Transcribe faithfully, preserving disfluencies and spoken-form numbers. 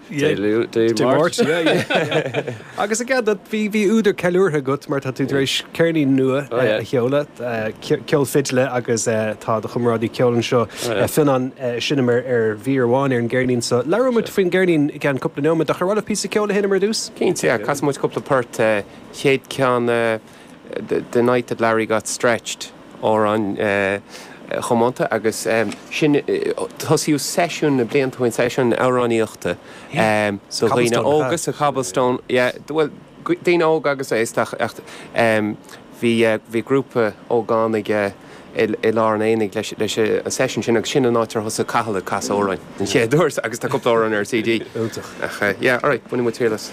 Dé Máirt. Agus a bhí bhí údar ceiliúrtha agat mar tá tú tar éis ceirnín nua oh, a sheoladh ceol fidle agus tá do chomrádaí ceoil anseo Fionnán seinm ar ar mhír amháin ar an gceirnín so labhróimid faoin gceirnín i gceann cúpla nóiméad ach ar mhaith píosa ceoil a sheinm ar dtús? Cinnte casfaidh muid cúpla port chéad ceann the night that Larry got stretched amhrán chomónta agus sin tosaíodh seisiún na blianta ó shin seisiún amhránaíochta so dhaoine óga sa Cobblestone well daoine óga agus aosta ach bhí bhí grúpa ógánaigh i lár an aonaigh leis leis an seisiún sin agus sin an áit ar thosaigh Cathal ag casadh amhráin den chéad uair agus tá cúpla amhrán ar CD. Iontach. Ach yeah, alright, bainfidh muid triail as.